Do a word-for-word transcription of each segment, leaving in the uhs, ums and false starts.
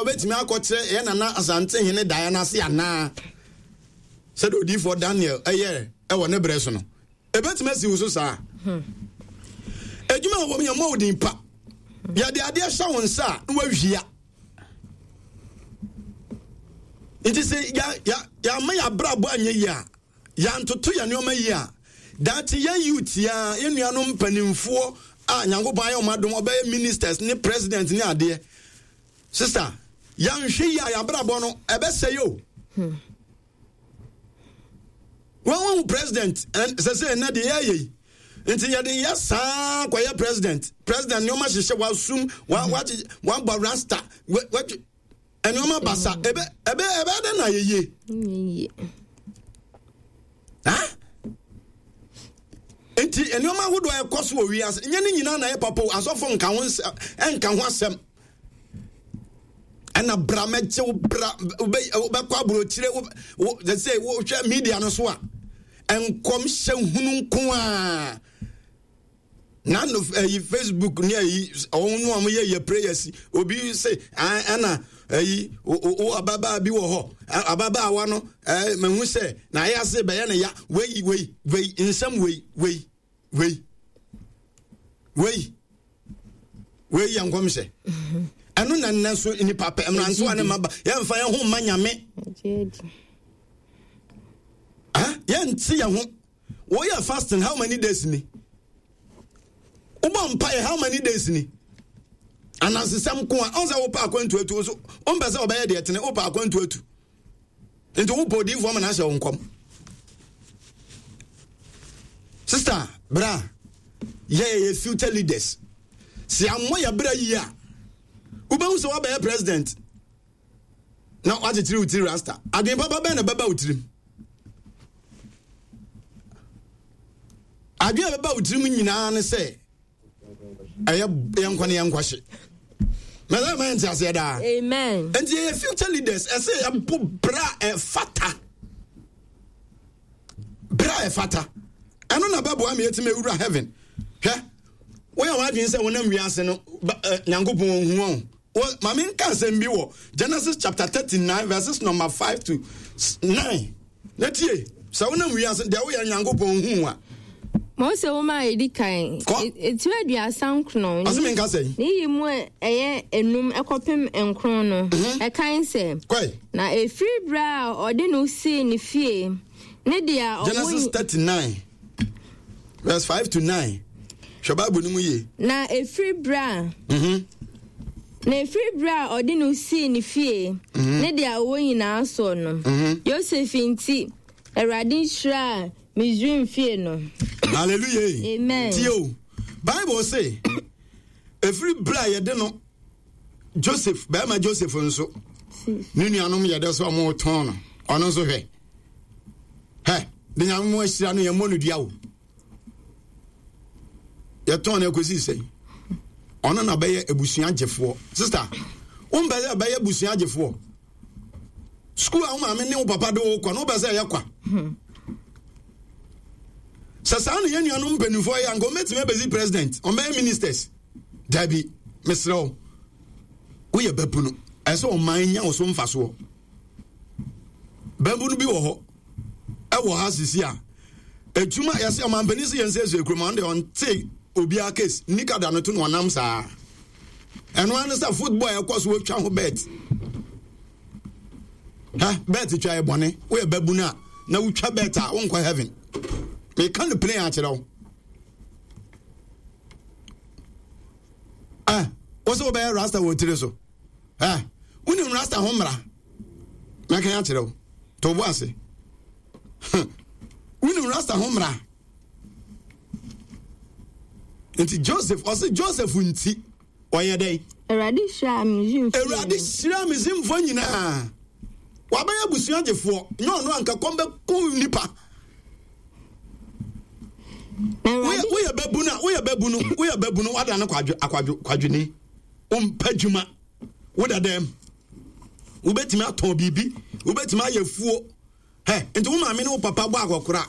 wobɛtumi akɔkyerɛ yɛ nana Asantehene daeɛ no ase anaa? Sɛdeɛ odiyifoɔ Daniel ɛyɛ ɛwɔ ne berɛ so no, ɛbɛtumi asi wo so saa. Adwuma a wɔm yɛ mmɔ wo din pa. Yɛde adeɛ hyɛ wo nsa a na wawia. Nti sɛ yɛama yɛabrabɔ anyɛ yie a, yɛantoto yɛ nneɛma yie a, daakye yɛn youth a yɛn nuanom mpanimfoɔ a Nyankopɔn ayɛ wɔn adom ɔbɛyɛ ministers ne president ne adeɛ. Sister, yɛanhwɛ yie a yɛabrabɔ no ɛbɛsɛe o. Hmm. Wɔn wɔn president sɛ sɛ ɛnɛ deɛ yɛayɛ yi nti yɛde yɛ saa kɔyɛ president president nneɛma hyehyɛ wasum wa wa wabɔ rasta wa wa nneɛma basa ebe ebe ebe de na yɛ yie ha nti nneɛma ahodoɔ a ɛkɔ so wɔ wiase nyɛ ne nyinaa na yɛ papa o. Asɔfo nka ho nka ho asɛm ɛna bra mɛgye wo bra wobɛkɔ aburokyire wo sɛ wohwɛ media no so a nkɔmhyɛ hunu nko a na no ɛyi Facebook ne ɛyi ɔmo no ɔmo yɛ yɛ prayers obi sɛ ɛna ɛyi o ababaa bi wɔ hɔ ababaawa no ɛɛ mehu sɛ na ayɛ ase bɛyɛ ne ya wei wei wei nsɛm wei wei wei wei wei yɛ nkɔmhyɛ ɛno na nnɛ so nipa pɛ mmerantewa ne mmaba yɛmfa yɛn ho mma Nyame, yɛnte yɛn ho. Woyɛ fasting how many days ni? Wobɔ mpaeɛ how many days ni? Anansesɛm ko a ɔn sɛ wopɛ akwantu atu so wompɛ sɛ ɔbɛyɛ deɛ tene wopɛ akwantu atu nti wopɛ odiyifoɔ ma no ahyɛ wo nkɔm. Sister, bra yɛyɛ yɛ future leaders. Sɛ ammɔ yɛ bra yie a wobɛhu sɛ woabɛyɛ president na woakyekyere wo tiri rasta. Adwene papa bɛn na bɛba wo tirim? Adwene a bɛba wo tirim nyinaa ne sɛ ɛyɛ yɛnkɔ ne yɛnkɔhye mɛsɛ ma yɛnte aseɛ daa. Amen. Nti yɛyɛ future leaders, ɛsɛ yɛbɔ bra ɛfata, bra ɛfata. Ɛno na bɛboa me yɛtumi awura heaven. Hwɛ, woyɛ w'adwene sɛ wonam wiase no Nyankopɔn ɔhu wɔn. Ma menka asɛm bi wɔ Genesis chapter thirty-nine verses number five to nine na tie. Sɛ wonam wiase deɛ woyɛ Nyankopɔn hu a. Mose nwoma a edi kan, etiri aduasa nkron. Ɔsɛ mi nka sɛn. Ne yi mu ɛyɛ enum ɛkɔpem nkron no. Mhm. Ɛkan sɛ. Kɔɛ. Na efiri bere a ɔde no sii ne fie ne deɛ ɔwɔ. Genesis thirty nine verse five to nine. Hwɛ Bible no mu yie. Na efiri bere a. Mhm. Na efiri bere a ɔde no sii ne fie mhm. ne deɛ ɔwɔ nyinaa soɔ no. Mhm. Yosef nti, Awurade hyiraa Misraim fie no. Hallelujah. Amen. Tie o. Bible say, efiri bere a yɛde no Joseph, bɛrima Joseph nso, ne nuanom yɛde sɛ ɔmo tɔn no, ɔno nso hwɛ. Hɛ, de Nyame mo ahyira no yɛn mmɔ no dua o. Yɛtɔn no akɔsi sɛn? Ɔno na bɛyɛ abusua gyefoɔ. Sister, wompɛ sɛ bɛyɛ abusua gyefoɔ? Sukuu a wo maame ne wo papa de wo kɔ no, wopɛ sɛ ɛyɛ kwa? Sɛ saa na yɛn nuanom mpanimfoɔ yɛ anka wɔbɛtumi abɛsi president, wɔbɛyɛ ministers? Dabi, mesrɛ wo, woyɛ babunu, ɛsɛ ɔman nya wo so mfasoɔ. Babunu bi wɔ hɔ ɛwɔ ha sisi a adwuma yɛsɛ ɔmampanin sɛ yɛn sɛ ɛsɛ kurom ɔno deɛ ɔnte obiara case nika da no to na ɔnam saa. Ɛno ano sɛ football a ɛkɔ so wɔtwa ho bet ha bet twa yɛ bɔne. Woyɛ babunu a na wotwa bet a wonkɔ heaven. Meka no plain akyerɛ wo. Eh, wo sɛ wobɛyɛ rasta wɔ tiri so. Eh, wonim rasta ho mmara? Mɛka akyerɛ wo, to bo ase. Wonim rasta ho mmara? Nti Joseph, ɔse Joseph nti ɔyɛ dɛn? Awurade hyiraa Misraimfoɔ. Awurade hyiraa Misraimfoɔ nyinaa. Wabɛyɛ abusua gyefoɔ. Nyɛ ɔno anka kɔm bɛku nipa. Woyɛ babunu a, woyɛ babunu, woyɛ babunu, wada no kwadwo akwadwo kwadwoni. Wompɛ dwuma. Woda dɛm. Wobɛtumi atɔn biribi, wobɛtumi ayɛ fuo. Hɛ, nti wo maame ne wo papa bɔ akɔkora.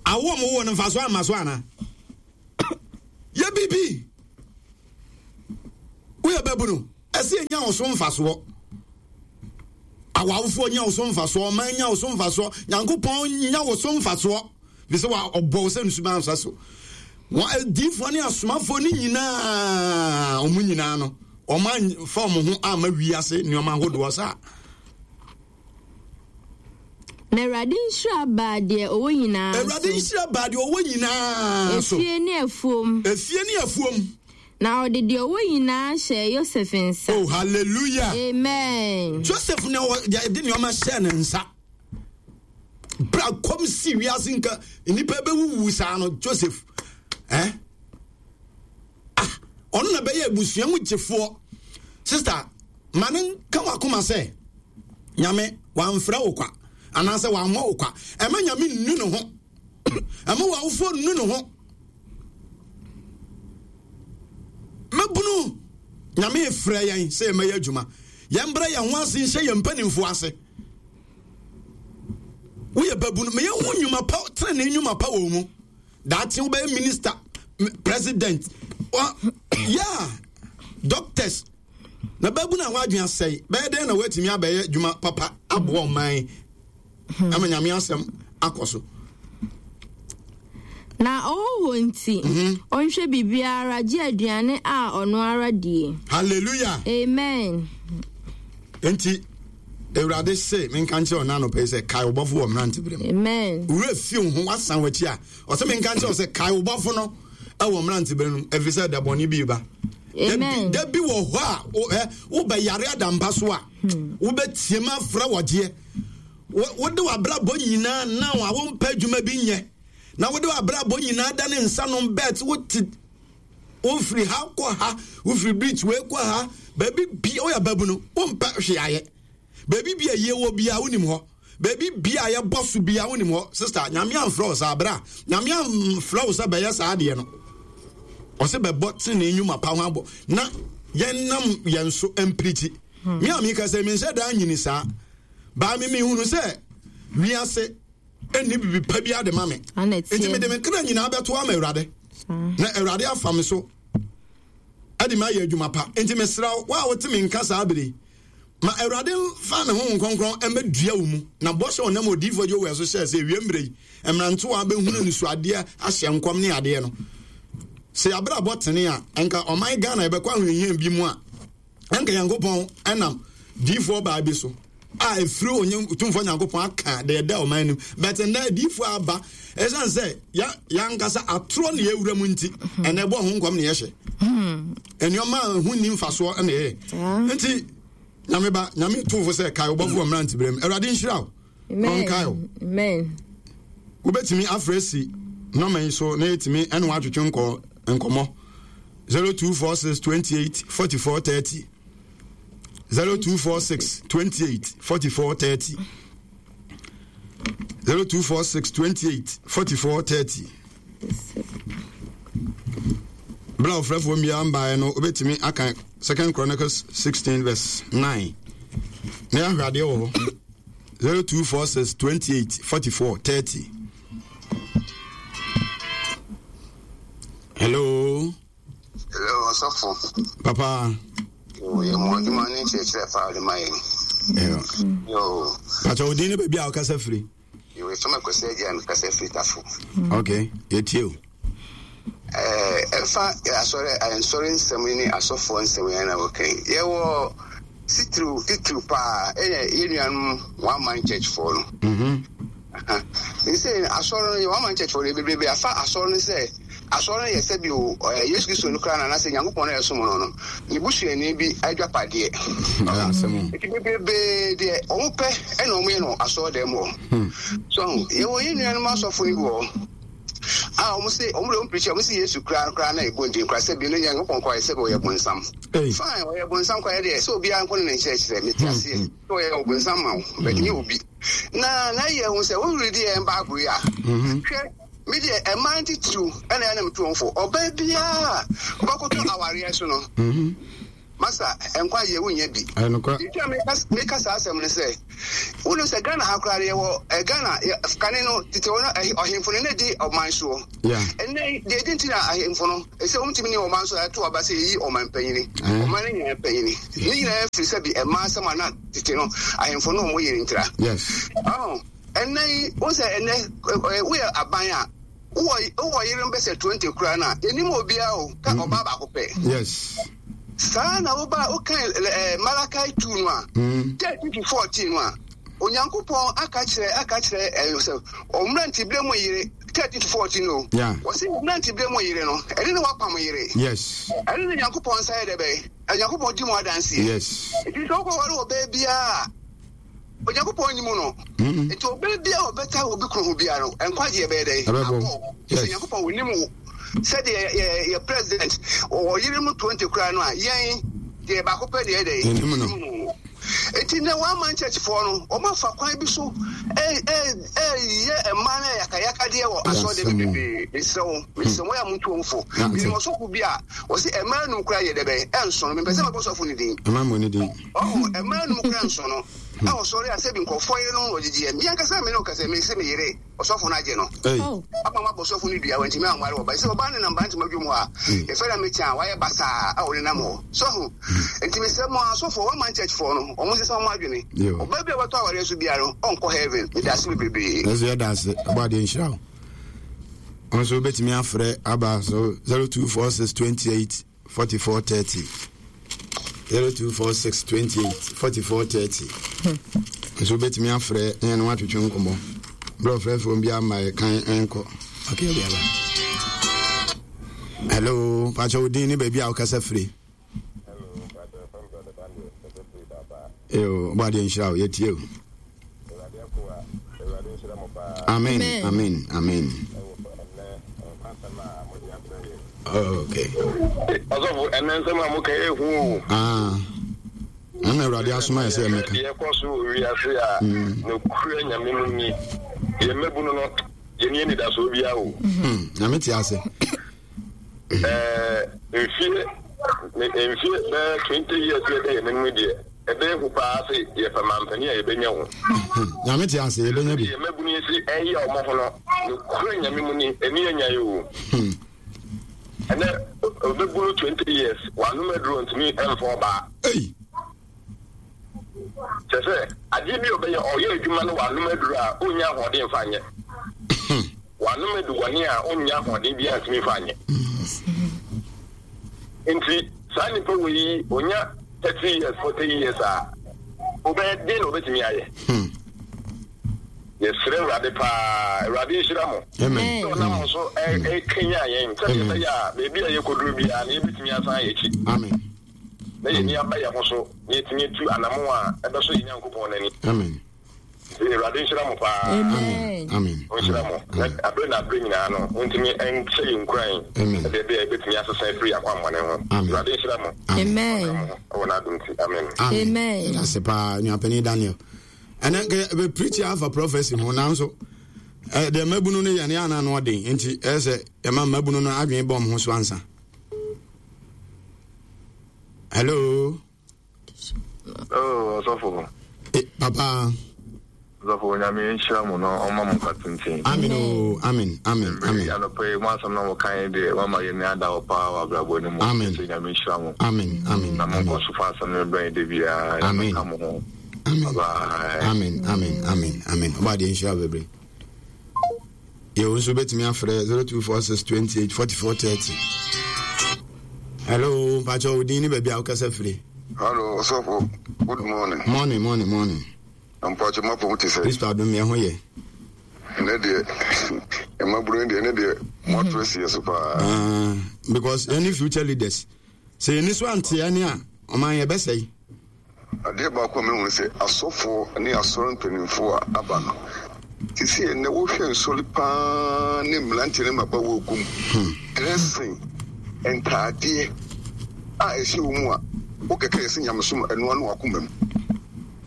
Awo ɔmo wɔ no mfa so amma so ana? Yɛ biribi. Woyɛ babunu. Ɛsɛ nya wo so mfasoɔ. Awawofoɔ nya wo so mfasoɔ, ɔman nya wo so mfasoɔ, Nyankopɔn nya wo so mfasoɔ. Bi sɛ wa ɔbɔ wo sɛ nsuba nsa so. Wɔn adiifoɔ ne asomafoɔ ne nyinaa, ɔmo nyinaa no, ɔmo amfa ɔmo ho amma wiase nneɛma ahodoɔ saa. Na Awurade nhyira baa deɛ ɔwɔ nyinaa so. Awurade nhyira baa deɛ ɔwɔ nyinaa so. Efie ne afuom. Efie ne afuom. Na ɔde deɛ ɔwɔ nyinaa hyɛɛ Yosef nsa. Oh, hallelujah. Amen. Joseph na ɔde nneɛma hyɛɛ ne nsa. Bra kɔm si wiase nka nnipa bɛwuwu saa no, Joseph. Eh? Ah, ɔno na bɛyɛ abusua mu gyefoɔ. Sister, ma ne nka wakoma sɛ Nyame wamfrɛ wo kwa anaasɛ wammɔ wo kwa. Ɛma Nyame nnu ne ho. Ɛma w'awofoɔ nnu ne ho. Mɛbunu Nyame frɛ yɛn sɛ yɛmmɛyɛ adwuma. Yɛmbrɛ yɛn ho ase nhyɛ yɛn mpanimfoɔ ase. Woyɛ babunu, meyɛ ho nnwuma pa, tenenee nnwuma pa wɔ mu. Daakye wobɛyɛ minister, president, yeah, doctors. Na babunu a wadwen asɛe, bɛyɛ dɛn na woatumi abɛyɛ adwuma papa aboa ɔman ama Nyame asɛm akɔ so. Na ɔhɔhoɔ nti, ɔnhwɛ biribiara gye aduane a ɔno ara die. Hallelujah. Amen. Enti Awurade se menka nkyerɛ ɔna anɔpa yi sɛ kae wo bɔfo wɔ mmerante bere mu. Amen. Wura fi wo ho wasan w'akyi a, ɔsɛ menka nkyerɛ wo sɛ kae wo bɔfo no ɛwɔ mmerante bere no ɛfiri sɛ da bɔne bi ba. Amen. Da bi wɔ hɔ a wobɛyare adampa so a, wobɛtie ma afrɛ wɔgyeɛ. Wode w'abrabɔ nyinaa na a wompɛ adwuma bi nyɛ. Na wode w'abrabɔ nyinaa da ne nsa nom bet, wote wofiri ha kɔ ha, wofiri beach wei kɔ ha, baabi bi woyɛ babu no, wompɛ hwee ayɛ. Baabi bi a yie wɔ bia wonim hɔ. Baabi bi a yɛbɔ so bia wonim hɔ. Sister, Nyame amfrɛ wo saa bra. Nyame amfrɛ wo sɛ bɛyɛ saa adeɛ no. Ɔsɛ bɛbɔ tenenee nnwuma pa ho abɔ na yɛnam yɛn so mpirikyi. Me a meka sɛ menhyɛ daa nyini saa. Baa me mehunu sɛ wiase ɛnni bibi pa bi ade ma me. Nti mede me kra nyinaa bɛto ama Awurade. Na Awurade afa me so ɛde me ayɛ adwuma pa. Nti mesrɛ wo a wote me nka saa bere, ma Awurade mfa ne ho nkronkron mmɛdua wo mu. Na bɔhyɛ ɔnam odiyifoɔ Joel so hyɛɛ sɛ ewie mmerɛ yi mmerantewa bɛhunu nisuadeɛ ahyɛ nkɔm ne adeɛ no. Sɛ yɛabrabɔ tene a, ɛnka ɔman Ghana yɛbɛkɔ ahohiahia bi mu a, ɛnka Nyankopɔn ɛnam diyifoɔ baa bi so a ɛfiri onye tumfoɔ Nyankopɔn aka deɛ ɛda ɔman no mu. But nnɛ diyifoɔ aba, ɛsiane sɛ yɛankasa atorɔ ne yɛwura mu nti, ɛnɛ ɛbɔ ho nkɔm ne yɛhyɛ. Nneɛma a ɛho nni mfasoɔ na ɛyɛ. Nti Nyame ba, Nyame tumfo sɛ kae wo bɔfo wɔ mmerante berɛ mu. Awurade nhyira wo. Ɔnkae wo. Amen. Wobɛtumi afrɛ si nɔma yi so na yɛtumi ɛne woatwetwe nkɔ nkɔmmɔ. zero two four six twenty-eight forty-four thirty. zero two four six twenty-eight forty-four thirty. zero two four six twenty-eight forty-four thirty. Bla ofrɛfoɔ mmea mbaeɛ no wobɛtumi aka Second Chronicles sixteen verse nine. Na yɛahwɛ adeɛ wɔ hɔ. zero two four six twenty-eight forty-four thirty. Hello. Hello, Osofo. Papa. Oh, yɛ mo adwuma ne nkyerɛkyerɛ paa de ma yɛn. Yo. Pacha odin ne baabi a wokasa firi. Yo, efam akwasi agya me kasa firi Tafo. Okay, yɛtie o. Eh, ɛfa asɔre nsɔre nsɛm ne asɔfoɔ nsɛm yɛn na wɔka yi. Yɛwɔ titiriw titiriw paa ɛyɛ yɛn nuanom One Man Church foɔ no. Mhm. Nsɛ asɔre no yɛ One Man Church foɔ no bebrebe afa asɔre no sɛ asɔre no yɛ sɛ bi o Yesu Kristo no koraa na anasɛ Nyankopɔn no ɛsom no no ne busuani bi adwapadeɛ. Nti bebrebe deɛ wɔn pɛ ɛna wɔn yɛ no asɔre dɛm hɔ. So yɛwɔ yɛn nuanom asɔfo no bi wɔ hɔ a wɔn se wɔn de wɔn pirikyi wɔn se Yesu koraa koraa na ɛbɔ ndin koraa sɛ bi no Nyankopɔn koraa yɛ sɛ ɔyɛ bonsam. Fine, ɔyɛ bonsam koraa yɛ deɛ sɛ obiara nko ne ne nkyerɛkyerɛ mete aseɛ sɛ ɔyɛ ɔbonsam ma wo but nyɛ obi. Na na yɛ hu sɛ wɔn redi yɛn Bible yi a hwɛ me deɛ ɛmaa ntitiriw ɛna ɛna metu wɔn fo ɔbaa biara ɔbɛkoto awareɛ so no Masa nkwa yɛ wonya bi. Nti meka saa asɛm no sɛ wonu sɛ Ghana ha koraa yɛwɔ Ghana kane no tete hɔ no ɔhemfo no na di ɔman soɔ. Ɛnnɛ deɛ ɛdi nti na ahemfo no ɛsɛ wɔntumi ne ɔman so ɛto aba sɛ yɛyi ɔman panyini. Ɔman no nyinaa panyini. Ne nyinaa firi sɛ bi ɛma asɛm a na tete no ahemfo no ɔmo yɛ ntira. Yes. Ɛnnɛ yi wo sɛ ɛnnɛ woyɛ aban a wowɔ yerenom bɛsɛ twenty koraa no a yɛnim obiara o ka ɔbaa baako pɛ. Yes. Saa na woba wokan Malachi two no a thirteen to fourteen no a Onyankopɔn aka kyerɛ aka kyerɛ sɛ ɔmmerantebere mu yere thirteen to fourteen o. Wɔsi mmerantebere mu yere no ɛne ne wapam yere. Yes. Ɛne ne Nyankopɔn nsa yɛ dɛ bɛyɛ Onyankopɔn di mu adanseɛ. Yes. Nti sɛ wokɔware ɔbaa biara Onyankopɔn nyi mu no. Nti ɔbaa biara ɔbɛta obi kuro ho biara no nkwagyeɛ bɛyɛ dɛ. Ɛbɛbɔ. Yes. Onyankopɔn onim wo. Sɛdeɛ yɛ yɛ president ɔyere mu twenty koraa no a yɛn deɛ baako pɛ deɛ dɛ. Yɛnim no. Enti na one man church foɔ no wɔn afa kwan bi so ɛyɛ mmaa no yakayakadeɛ wɔ asɔre bebree. Mesrɛ wo mesrɛ wo yɛ a montu wɔn fo. Menim ɔsɔfo bi a wɔsi mmaa num koraa yɛ dɛbɛn ɛnso no mepɛ sɛ mɛbɔ sɔfo ne din. Mmaa mu ne din. Ɔho mmaa num koraa nso no a ɔsɔre a sɛbi nkɔfoɔ yere no ɔgyegyeɛ mi ankasa mi ne ɔkasa mi sɛ mi yere ɔsɔfo no agye no. Ama ma bɔ sɔfo no dua wɔntumi anware ɔba sɛ ɔbaa ne nam ba ntoma dwom hɔ a yɛfɛ na mekyɛn a wayɛ basaa a ɔne nam hɔ sɔfo. Nti mesɛ mo asɔfo wɔn man church foɔ no wɔn sesa wɔn adwene ɔbaa bi a wɔtɔ awareɛ so biara no ɔnkɔ heaven. Meda ase bebree. Ɛsɛ yɛda ase ɔbɔ adeɛ nhyira wo. Wɔn nso wobɛtumi afrɛ aba so zero two four six twenty eight forty four thirty zero two four six twenty eight forty four thirty. Nso wobɛtumi afrɛ ne ɛno atwetwe nkɔmmɔ. Berɛ ɔfrɛfoɔ bi ama yɛ kan nkɔ. Okay, obi aba. Hello, pakyɛ wo din ne baabi a wokasa firi. Yo, ɔbɔ adeɛ nhyira wo, yɛtie o. Amen, amen, amen. Oh, okay. Ọsọfo, ẹnẹ nsẹm a mo ka ehu o. Ah. Ɛna Awurade asoma yɛ sɛ ɛmɛka. Deɛ ɛkɔ so wɔ wiase a nokura Nyame no ni. Yɛn mmabunu no, yɛn ni anidasoɔ biara o. Nyame te ase. Ɛɛ mfie mfie bɛyɛ twenty years yɛ dɛ yɛn anim deɛ ɛbɛyɛ hu paa sɛ yɛpɛ mampanin a yɛbɛnya ho. Nyame te ase yɛbɛnya bi. Yɛn mmabunu yi si ɛyɛ ɔmo ho no nokura Nyame mu ni ɛni anya yi o. Ɛnɛ ɔbɛbunu twenty years wanom aduro ntumi ɛmfa ɔbaa. Ei. Kyerɛ sɛ adeɛ bi a ɔbɛyɛ ɔyɛ adwuma no wanom aduro a ɔnnya ahoɔden mfa nyɛ. Wanom adubɔne a ɔnnya ahoɔden biara ntumi mfa nyɛ. Nti saa nipa wɔ yi ɔnya thirty years forty years a ɔbɛyɛ den na ɔbɛtumi ayɛ. Yɛsrɛ Awurade paa, Awurade nhyira mo. Amen. Sɛ ɔnam mo so ɛkanya yɛn sɛdeɛ ɛbɛyɛ a baabi a yɛkɔduru biara na yɛbɛtumi asan yɛn akyi. Amen. Na yɛn ani aba yɛn ho so na yɛtumi atu anamo a ɛbɛsɔ yɛn Nyankopɔn n'ani. Amen. Nti Awurade nhyira mo paa. Amen. Amen. Ɔnhyira mo. Na abere na abere nyinaa no, montumi nhyɛ yɛn nkuran. Amen. Sɛdeɛ ɛbɛyɛ a yɛbɛtumi asesa afiri yɛn akwammɔne ho. Amen. Awurade nhyira mo. Amen. Ɔnka mo ho ɛwɔ n'adom nti. Amen. Amen. Yɛda ase paa, Nuapanin Daniel. Ɛnɛ nka yɛ preach afa prophecy ho nanso deɛ mmabunu no yɛ no yɛ ana ano ɔden nti ɛyɛ sɛ yɛma mmabunu no adwene bɔ ho so ansa. Hello. Oh, ɔsɔfo. Eh, papa. Ɔsɔfo Nyame nhyira mo na ɔma mo nkwa tenten. Amen o, amen, amen, amen. Anɔpa yi mo asɛm na mo kan deɛ wama yɛn ni ada hɔ paa wɔ abrabɔ no mu. Amen. Sɛ Nyame nhyira mo. Amen, amen. Na mo nkɔ so fa asɛm no brɛ yɛn da biara. Amen. Nyame ka mo ho. Amen. Bye. Amen, amen, amen, amen. Ɔba adeɛ nhyira bebree. Yɛwo nso bɛtumi afrɛ zero two four six twenty eight forty four thirty. Hello, mpakyɛ wo din ne baabi a wokasa firi. Hello, ɔsɔfo. Good morning. Morning, morning, morning. Mpakyɛ mapɔ mu te sɛ. Kristo adom yɛ ho yɛ. Ɛnɛ deɛ mmabunu deɛ ɛnɛ deɛ moato asi yɛ so paa. Because yɛne future leaders sɛ yɛni so anteɛ ne a ɔman yɛbɛsɛe. Adeɛ baako a mehu sɛ asɔfoɔ ne asɔre mpanimfoɔ a aba no sisi ɛnɛ wohwɛ nsɔre paa ne mmeranteɛ ne mmabaawa gu mu dressing ntaadeɛ a ɛhyɛ wɔ mu a wokɛkɛ yɛ sɛ nyamesom ɛnoa no akoma mu.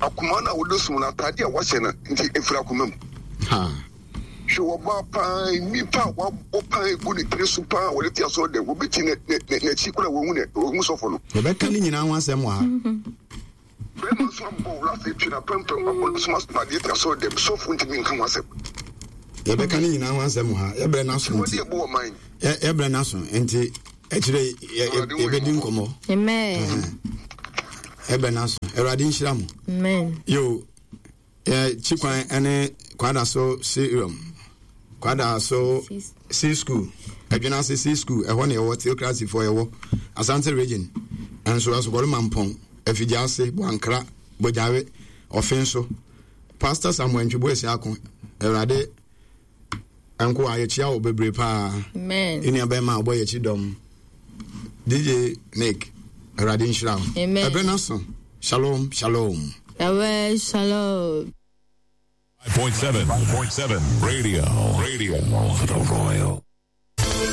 Akoma no a wode som no ataadeɛ a wahyɛ no nti ɛfiri akoma mu. Hwɛ ɔbaa paa, nnipa a wabɔ paa egu ne tiri so paa wɔde te asɔre dɛm. Obi te n'akyi koraa wɔhu ne wɔhu sɔfo no. Yɛbɛka ne nyinaa ho asɛm wɔ ha. Bɛrima nso abɔ wura afei twe n'apampam abɔ ne so asomadeɛ te asɔre dɛm. Sɔfo ntumi nka ho asɛm. Yɛbɛka ne nyinaa ho asɛm wɔ ha. Yɛbrɛ n'aso nti. Yɛbrɛ n'aso nti akyire yɛbɛdi nkɔmmɔ. Amen. Yɛbrɛ n'aso. Awurade nhyira mo. Amen. Yo, Chikwan ne Kwadaso Serum. Kwadaso C School. Adwenase C School. Ɛhɔ na yɛwɔ theocracy fo yɛwɔ Asante Region. Nso Asokɔre Mampɔn, Afigyase, Boankra, Bogyawe, Ɔfenso. Pastor Samuel Ntwebo Asiako. Awurade nko a yɛkyia wo bebree paa. Amen. Nua bɛrima a ɔbɔ yɛkyi dɔm. D J Nick, Awurade nhyira wo. Amen. Ɛbrɛ no so. Shalom, shalom. Yahweh, shalom. five point seven, five point seven, radio, radio, the Royal.